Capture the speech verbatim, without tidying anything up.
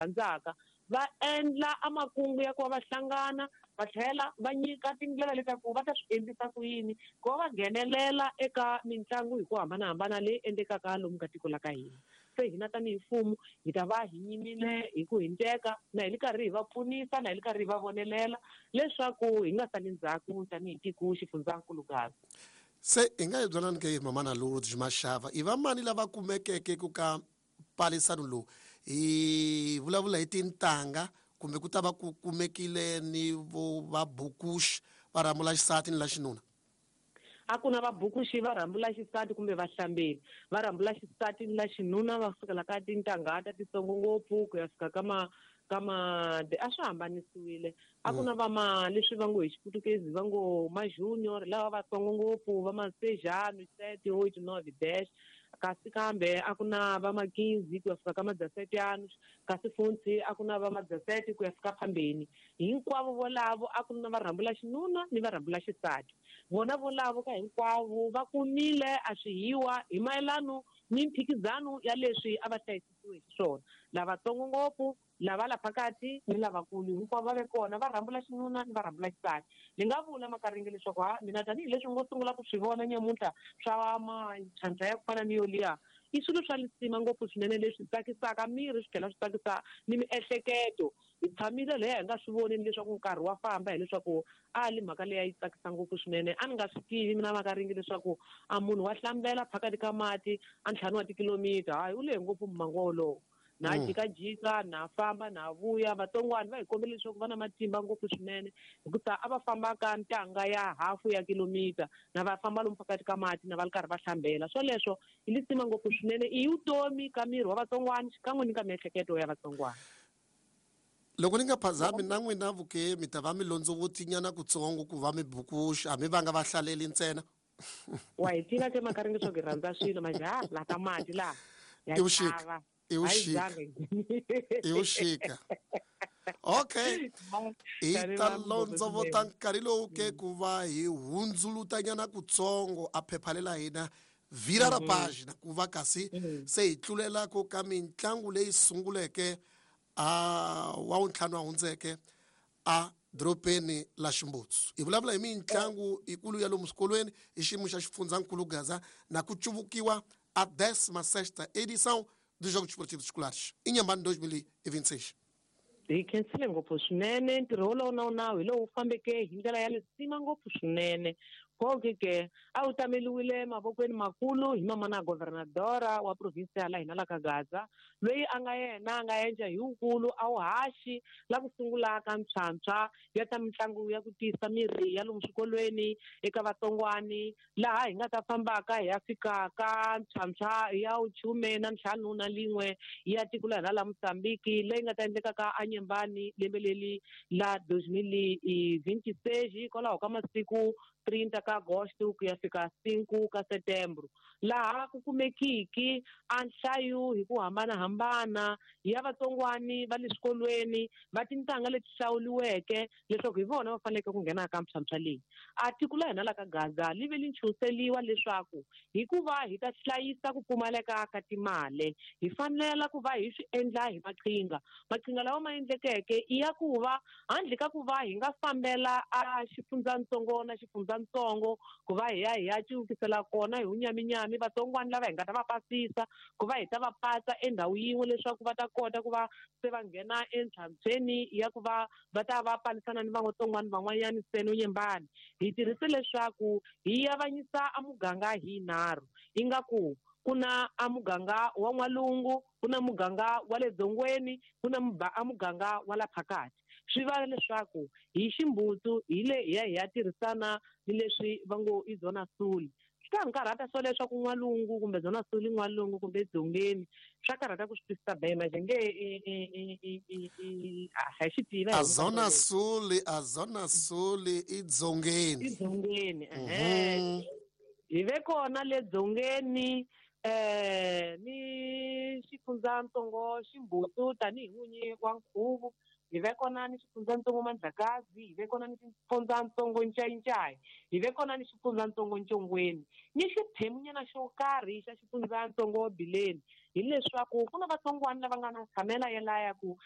Rhandzaka va endla amakungu ya ku va va hlangana, va tlhela va nyika tindlela letaku va ta swi endlisa ku yini ku va va nghenelela eka mitlangu hi ku hambanahambana leyi endlekaka lomu ka tiko la ka hina. Se hina tanihi mfumo hi ta va hi yimile hi ku hinteka na hi li karhi hi va pfunisa na hi li karhi hi va vonelela leswaku hi nga sali ndzhaku tanihi tiko xifundzankulu Gaza. Se hi nga hi byelani ke, mamana Lourdes Mashava, i va mani lava kumekeke ku ka palisano lowu? Hi vulavula hi tintangha kumbe ku ta va ku kumekile ni vo vabukuxi va rhambula xisati ni la xinuna? A ku na vabukuxi va rhambula xisati kumbe vahlambeli va rhambula xisati ni la xinuna, va sukela ka tintangha ta titsongo ngopfu ku ya fika ka ma ka ma a swi hambanisiwile. A ku na va ma leswi va ngo hi Xiputukezi va ngo ma junior, lava vatsongo ngopfu va ma sejano, sete, oito, nove, dez, kasi kambe a ku na va ma quinze ku ya fika ka ma dezesete anos, kasi futhi a ku na va ma dezesete ku ya fika phambeni. Hinkwavo volavo a ku na va rhambula xinuna ni va rhambula xisati, vona volavo ka hinkwavo va kumile a swihiwa hi mayelano ni mphikizano ya leswi a va hlayisisiwe hi xiswona. Lavatsongo ngopfu, lava la phakathi ni lavakulu, hinkwavo va ve kona, va rhambula xinuna ni va rhambula xisati. Ni nga vula Makaringe leswaku ha mina tanihileswi ngo sungula ku swi vona nyamuntlha swa matlhantlha ya ku fana ni yoliya, i swilo swa lisima ngopfu swinene leswi tsakisaka miri swi tlhela swi tsakisa ni miehleketo. Hi tshamile leya hi nga swi voneni leswaku nkarhi wa famba, hileswaku a li mhaka leyi a yi tsakisa ngopfu swinene. A ni nga swi tivi mina Makaringe leswaku a munhu wa hlambela phakathi ka mati a ntlhanu wa tikilomita, hayi u lehe ngopfu mmango wolowo. Na jikajika na famba na vuya, vatsongwana va hi kombela leswaku va na matimba ngopfu swinene hikusa a va famba ka ntanga ya hafu ya kilomita na va famba lomu phakathi ka mati na va ri karhi va hlambela. Swoleswo i lisima ngopfu swinene, i vutomi ka miri wa vatsongwana xikan'we ni ka miehleketo ya vatsongwana. Loko ni nga phazami na n'wina vuke mi ta va mi londzovutinyana kutsongo ku va mi bukuxa, a mi vanga va hlaleli ntsena. Wa hi tiva ke Makaringe leswaku hi rhandza swilo majaha la ka mati laha ya I vuxika. chava. I vuxika. I vuxika. Okay, hi ta londzovota nkarhi lowu ke ku va hi hundzulutanyana kutsongo a phepha lela hina vira ra pagina ku va kasi se hi tlulela ku ka mitlangu leyi sunguleke a wa wuntlhanu wa hundzeke a dorobeni la Ximbutsu. Hi vulavula hi mitlangu yikulu ya lomu swikolweni hi xiyimo xa xifundzankulu Gaza na ku cuvukiwa a décima sexta edição dos Jogos Esportivos Escolares Inhambane dois mil e vinte e seis. Hi khensile ngopfu swinene. Ntirho wolowo na nawu hi lowu fambeke hi ndlela ya lisima ngopfu swinene. Phoke ke a wu tameliwile mavokweni makulu hi mamana governadora wa provinsi la hina la ka Gaza, loyi a nga yena a nga endla hi wukulu a wu haxi la ku sungula ka ntshwantshwa ya ta mitlangu ya ku tiyisa miri ya lomu swikolweni eka vatsongwani, laha hi nga ta fambaka hi ya fika ka ntshwantshwa ya vuchume na ntlhanu na lin'we ya tiko la hina la Mozambique, leyi nga ta endleka ka Anyembani lembe leri la dos mil e vinte e seis, hikwalaho ka masiku trinta ka agosto ku ya fika cinco ka setembro, laha ku kumekiki a nhlayo hi ku hambanahambana ya vatsongwani va le swikolweni va tintangha leti hlawuriweke leswaku hi vona va faneleke ku nghena ka mphyamphya leyi. A tiko la hina la ka Gaza li ve li nchunseliwa leswaku hikuva hi ta hlayisa ku pfumaleka ka timali, hi fanela ku va hi swi endla hi maqhinga. Maqhinga lawa ma endlekeke i ya ku va handle ka ku va hi nga fambela a xifundzatsongo na xifundzatsongo ku va hi ya hi ya cuvukisela kona hi wunyaminyami vatsongwana lava hi nga ta va pasisa, ku va hi ta va patsa endhawu yin'we leswaku va ta kota ku va se va nghena entlhantlhweni ya ku va va ta va palisana ni vatsongwana van'wanyani ntsena Nyembani. Hi tirhise leswaku hi avanyisa a muganga hi nharhu, ingaku ku na a muganga wa n'walungu, ku na muganga wa le dzongweni, ku na a muganga wa la phakathi. Swi va leswaku hi ximbutsu hi le hi ya hi ya tirhisana ni leswi va ngo i Zona Sul. Swi ta ni karhata swo leswaku n'walungu kumbe Zona Sul, n'walungu kumbe dzongeni, swa karhata ku swi twisisa bema nge a hi xi tiva. A Zona Sul, a Zona Sul i dzongeni. I dzongeni, ehe. Hi ve kona le dzongeni eh ni xifundzatsongo Ximbutsu tanihi n'winyi wa nkhuvo. Hi ve kona ni xifundzatsongo Mandlakazi, hi ve kona ni xifundzatsongo Ncayincayi, hi ve kona ni xifundzatsongo Ncongweni, ni xiphemunyana xo karhi xa xifundzatsongo Bileni. Hileswaku ku na vatsongwana lava nga na tshamela yelaya ku